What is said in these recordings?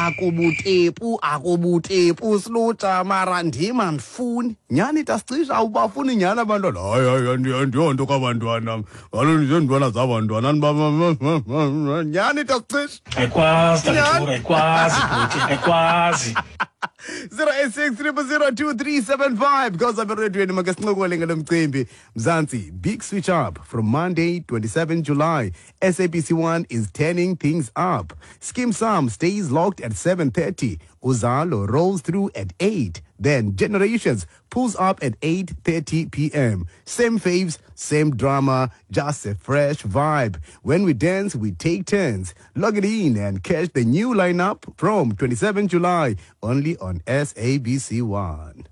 Akubutepu, akubutepu silutsha mara ndim andifuni. Nyhani tasicisha awubafuni nyhani abantwana. Hayi hayi andiyonto kabantwana. Kaloku ndizentwana zabantwana nyhani tasicisha. Ayikwazi Tatura, ayikwazi bhuti, ayikwazi. 086 0002375 because apha erediyweni make sincokole ngalo mcimbi. Mzansi, big switch up from Monday 27 July. SABC 1 is turning things up. Skeem Saam stays locked at 7:30. Uzalo rolls through at 8. Then Generations pulls up at 8:30 p.m. Same faves, same drama, just a fresh vibe. When we dance, we take turns. Log it in and catch the new lineup from 27 July only on SABC 1.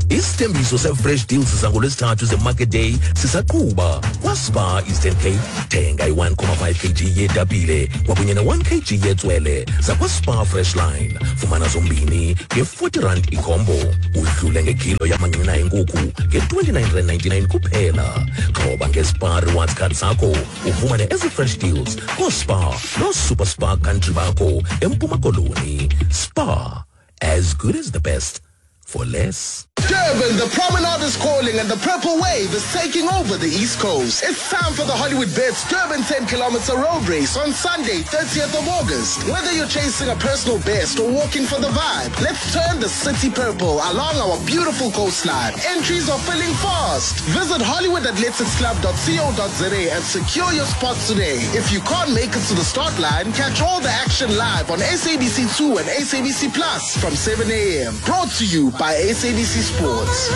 Isithembiso se-Fresh Deals zangolwesithathu ze-Market Day sisaqhuba kwaSpar Eastern Cape. Thenga i-1,5 kg yetapile kwakunye ne-1 kg yetswele zakwaSpar Fresh Line. Fumana zombini nge-40 rand ikhombo. Udlule ngekilo yamanqina enkukhu nge-29.99 kuphela. Xhoba ngeSpar Rewards Card sakho ufumane ezi Fresh Deals kooSpar nooSuper Spar Country bakho eMpuma Koloni. Spar, as good as the best for less. Durban, the Promenade is calling and the Purple Wave is taking over the East Coast. It's time for the Hollywoodbets Durban 10-kilometer road race on Sunday, 30th of August. Whether you're chasing a personal best or walking for the vibe, let's turn the city purple along our beautiful coastline. Entries are filling fast. Visit HollywoodAthleticsClub.co.za and secure your spot today. If you can't make it to the start line, catch all the action live on SABC2 and SABC Plus from 7 a.m. Brought to you by SABC Sports.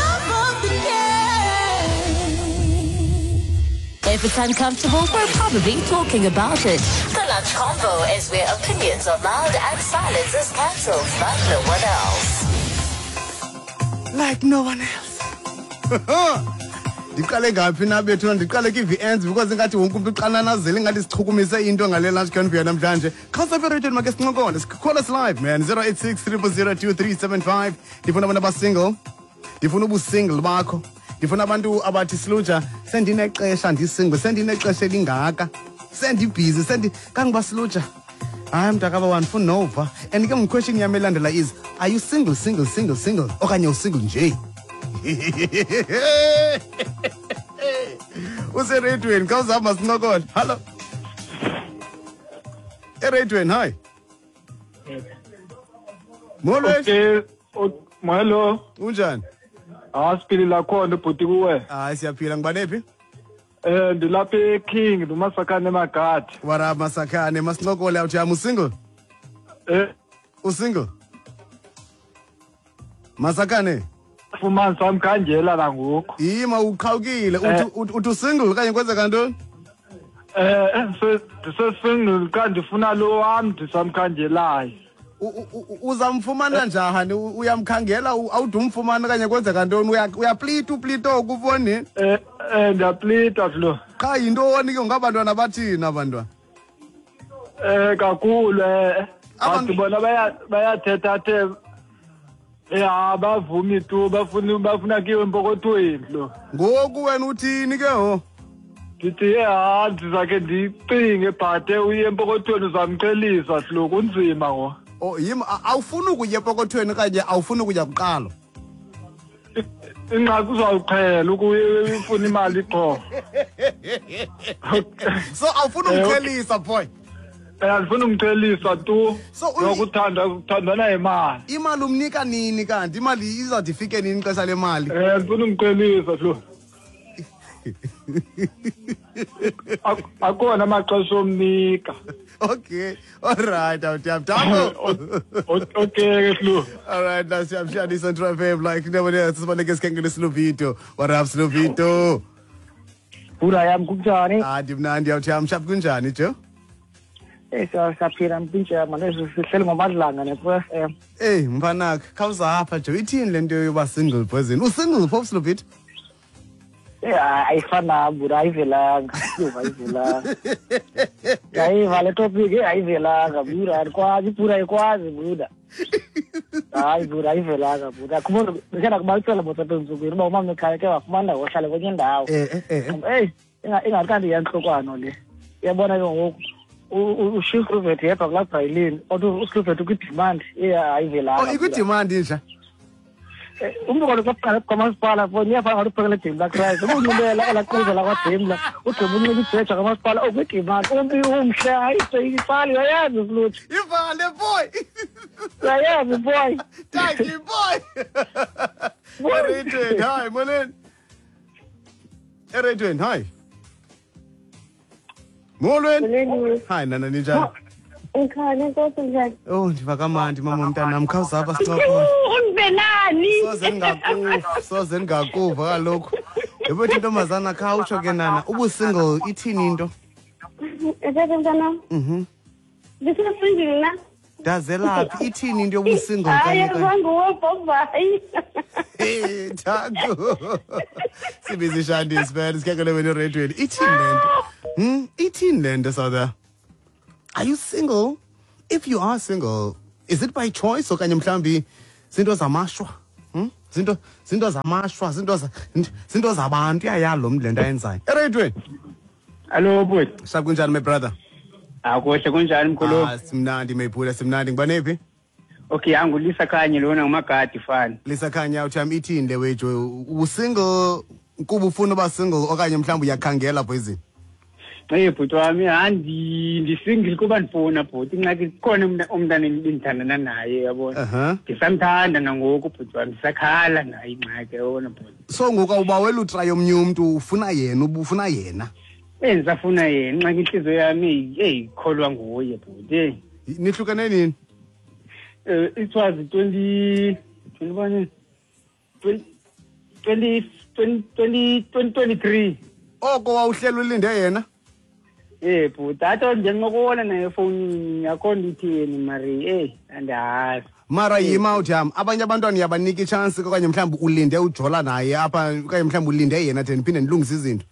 If it's uncomfortable, we're probably talking about it. The Lunch Convo is where opinions are loud and silence is cancelled like no one else. Like no one else. Ndiqale ngaphi na bethuna? Ndiqale kwi-VNs because ingathi wonke umntu uxananazele ingathi sichukumise into ngale lunch convo namhlanje. Khawusapha ereyidweni make sincokole. Call us live, man. 086 0002375. Ndifuna abantu abasingle. Ndifuna ubusingle bakho. Ndifuna abantu abathi silutsha sendinexesha ndisingle, sendinexesha elingaka, sendibhizi, sendi kangoba silutsha. Hayi mntakaba wandifuna nova. And ke question yam elandela is, are you single, single, single, single okanye usingle nje? Useredweni, khawuzama sincokole. Hallo. Eredweni, hi. Molo. Okay, molo. Unjani? Asiphilile khona bhuti kuwe. Hayi siyaphila, ngibane phi? Ndilapha eKing, nguMasakhane eMagadi. What up Masakhane? Masincokole awuthi am usingle? Usingle? Masakhane? Fumana samkhangela la ngoku. Yima uqhawukile, uthi usingle okanye kwenzeka ntoni? Ndisesingle xa ndifuna lo wam ndisamkhangelayo. Uzamfumana njani? Uyamkhangela awudumfumana okanye kwenzeka ntoni? Uyaplita uplita oku ufoni? Ndiyaplita lo. Qha yintoni ke ngabantwana bathini abantwana? Kakhulu abantu bona bayathetha the ya bavumi tu bafuna kiwe empokothweni lo. Ngoku wena uthini ke ho? Ndithi ha ndizakhe ndicinge bhate uye empokothweni uzamqhelisa lo kunzima ngo. Oh yima awufuni ukuya empokothweni okanye awufuni ukuya kuqala? Ingxaki uzawuqhela ukufuna imali qho. So awufuni umqhelisa boy? Andifuni umqhelisa tu. Nokuthanda kuthandana imali. Imali umnika nini kanti? Imali izawuthi ifike nini ixesha lemali? Andifuni umqhelisa lo. Akona amaxesha omnika. Okay, all right, awutiyamthambo. Okay, ke. All right, now siyamshaya Central FM like never else. Sibaleke sikhangele Slovito. What up Slovito? Bura yam kunjani? Ah, ndimnandi awuthiyam shap kunjani jo? Siyaphila mpintsha manje sihleli ngomadlanga ne-FM. Hey mfanaka, khawuzapha jo ithini le nto yoba single poison? Usingle phofu Slovito? Ayifana bura ayivelanga. Ayivelanga. Ayiva le topic ayivelanga bura andikwazi bura ayikwazi bura. Hayi bura ayivelanga bura. Khumbula ndikhe kubalisela botsa entsukwini uba umama ekhaya ke wafumana wohlala kwenye indawo. Eyi ingathi kanti iyantlokwana le. Uyabona ke ngoku Ushiya uSluvet yedwa kulaa bhayilini, kodwa uSluvet ukwi-demand ayivelanga. Oh, ikwi-demand inja. Umntu kaloku kwamasipala fo iyafana ngathi uphekele Daimler Chrysler. Unxibela elaa qhiza lakwaDaimler, ugqiba unxiba ibheja kamasipala okwi-demand. Umntu umhle, hayi ipali uyayazi Sluthi. Ivale boy. Uyayazi boy. Thank you boy. Eretweni, hi, molweni. Eretweni, hi. Molweni. Hi nana, ninjani? Ngikhona, inkosi, njani? Oh, ndiva kamandi mama mntanam, khawuzapha sincokole. Ungivelani? Soze ndingakuva, soze ndingakuva kaloku. Yebo ntombazana, khawutsho ke nana, ubusingle ithini into? Ethethe mntanam. Ndisesingle na? Ndazelaphi, ithini into yobusingle kanye? Hayi, nguwe Bhobhayi. Hey, Thanku. Sibiza ishandisi man, sikhangele wena eredweni. Ithini le nto? Ithini le nto, South? Are you single? If you are single, is it by choice okanye mhlambi zinto zamashwa? Zinto zamashwa, zinto zabantu uyayalo mntu le nto ayenzayo. Eredweni. Hello bhuti. Sharp, kunjani my brother? Akuhle, kunjani mkhulu? Ah, simnandi mayphula, simnandi. Ngibanephi? Okay, angulisa Khanye lona ngumagadi fana. Lisa Khanye, uthi ithini le wejo? Usingle kuba ufuna uba single okanye mhlawumbi uyakhangela poison? Hey bhuti wami, ndisingle kuba ndifuna bhuti. Ingxaki kukhona umntana endithandana naye yabona. Ndisamthanda nangoku bhuti wami, ndisakhala naye ingxaki yabona bhuti. So ngoku awubawela utraya omnye umntu, ufuna yena, ubufuna yena? Ndisafuna yena, ingxaki intliziyo yami eyikholwa nguye bhuti. Nihlukene nini? It was 2023. Oko wawuhlela ulinde yena? Bhuti, athi ndincokola naye efowunini, akho nto itheni mari, andiyazi. Mara yima uthi yam, abanye abantwana uyabanika itshansi okanye mhlawumbi ulinde ujola naye apha okanye mhlawumbi ulinde yena de ndiphinde ndilungise izinto.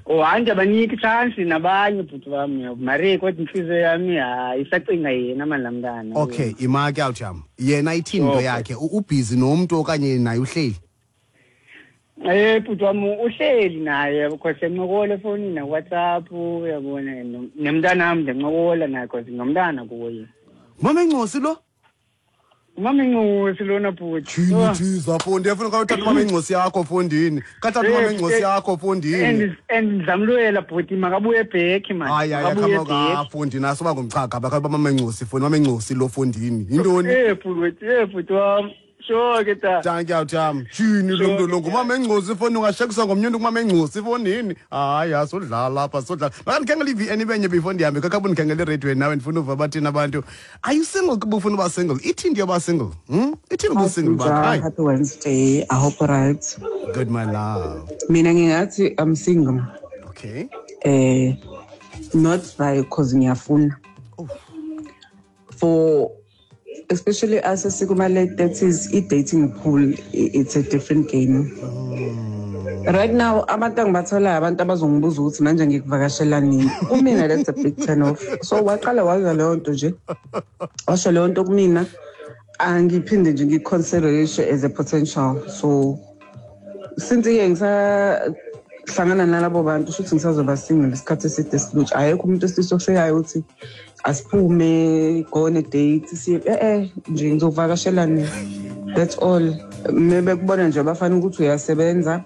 Oh, hayi ndiyabanika itshansi nabanye bhuti wam, mari kodwa intliziyo yami hayi isacinga yena mani laa mntana. Okay, ima ke awuthi yam. Yena ithini into yakhe? Ubhizi nomntu okanye naye uhleli? Bhuti wam uhleli naye because ndiyancokola efowunini nakuWhatsApp, uyabona, nemntanam ndiyancokola naye because ngumntana kuye. Mama Encosi lo? Mama Encosi lona bhuti. Jini fundi, efuna ukuthatha mama Encosi yakho fondini. Kathatha mama Encosi yakho fondini. And ndizamlwela bhuti makabuye back man. Hayi hayi khama fundi naso bangumchaga bakaba mama Encosi fundi, mama Encosi lo fondini. Yintoni? Bhuti wam. Sure ke ta. Thank you Tam. Jini lo mntu lo ngumama Encosi foni ungashekisa ngomnye umntu kumama Encosi fonini. Hayi asodlala apha sodlala. Makandikhangele i-VN ibenye before ndihambe kakabuni ndikhangele eradweni nawe ndifuna uva bathini abantu. Are you single kuba ufuna uba single? Ithini into yoba single? Ithini uba single bakho? Hi. Happy Wednesday. I hope you're right. Good my love. Mina ngingathi I'm single. Okay. Not by cause ngiyafuna. Oh. For especially as a sikuma late 30s, i-dating pool, it's a different game. Right now, abantu angibatholayo abantu abazongibuza ukuthi manje ngikuvakashela nini. Kumina that's a big turn off. So waqala waza leyo nto nje. Washo leyo nto kumina angiphinde nje ngiconsider as a potential. So since ke ngisahlangana nalabo bantu shuthi ngisazoba single isikhathi eside silutsha. Ayekho umuntu esisofikayo ukuthi asiphume go on a date siye nje ngizovakashela nini. That's all. Maybe kubona nje abafana ukuthi uyasebenza.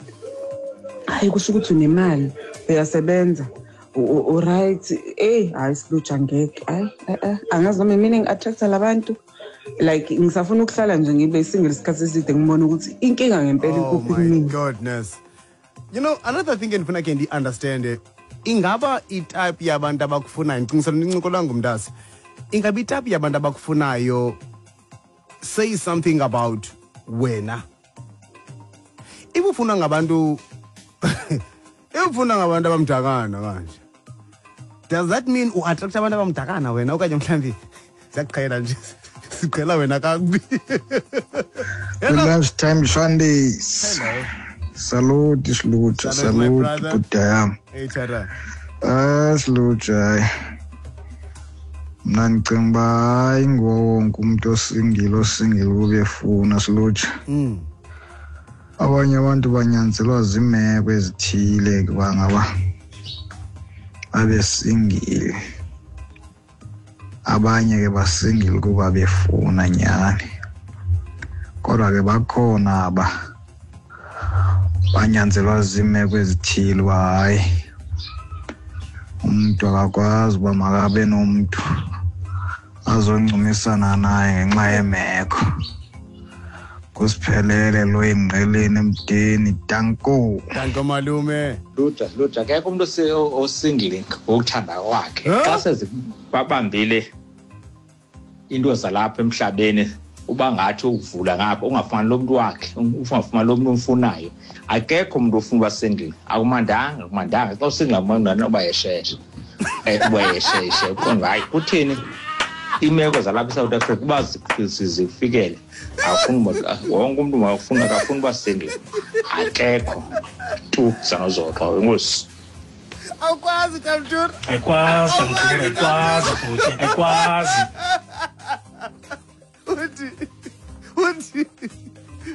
Hayi kusho ukuthi unemali uyasebenza. Right. Hayi silutsha ngeke. Hayi angazi noma mina ngi-attract labantu. Like ngisafuna ukuhlala nje ngibe single isikhathi eside ngibone ukuthi inkinga ngempela ikuphi kumina. Oh my goodness. You know, another thing endifuna ke ndi-understand, ingaba itype yabantu abakufunayo, ndicingisela incokola ngumntasi, ingaba itype yabantu abakufunayo say something about wena. If ufuna ngabantu if ufuna ngabantu abamdakana kanje, does that mean u-attract abantu abamdakana wena okanye mhlawumbi siyaqhela nje siqhela wena kakubi? Lunchtime Sundays. Hello. Salute, salute, salute, Budayam. Hey, Tara. Salute, hayi. Mna ndicinga uba hayi nguwo wonke umntu osingile ubefuna salute. Abanye abantu banyanzelwa ziimeko ezithile kuba ngaba babe singile. Abanye ke basingile kuba befuna nyani. Kodwa ke bakhona aba banyanzelwa ziimeko ezithile uba hayi umntu akakwazi uba makabe nomntu azoncumisana naye ngenxa yeemeko. Kusiphelele lo engqeleni emdeni, danko. Danko malume. Luja, Luja, akekho umntu osingle ngokuthanda kwakhe. Xa sezibabambile into zalapha emhlabeni, uba ngathi ukuvula ngapha ungafumani lo mntu wakhe, ungafumani lo mntu umfunayo. Akekho umntu ofuna uba single. Akumandanga, akumandanga. Xa usingle akumandanga uba yesheshe. Uba yesheshe. Uqonda hayi kutheni imeko zalapha eSouth Africa uba zifikele. Akufuni uba wonke umntu makafuna, akafuni uba single. Akekho tu sanozoxa enkosi. Awukwazi Tamtur. Ayikwazi Tamtur, ayikwazi bhuti, ayikwazi. Uthi uthi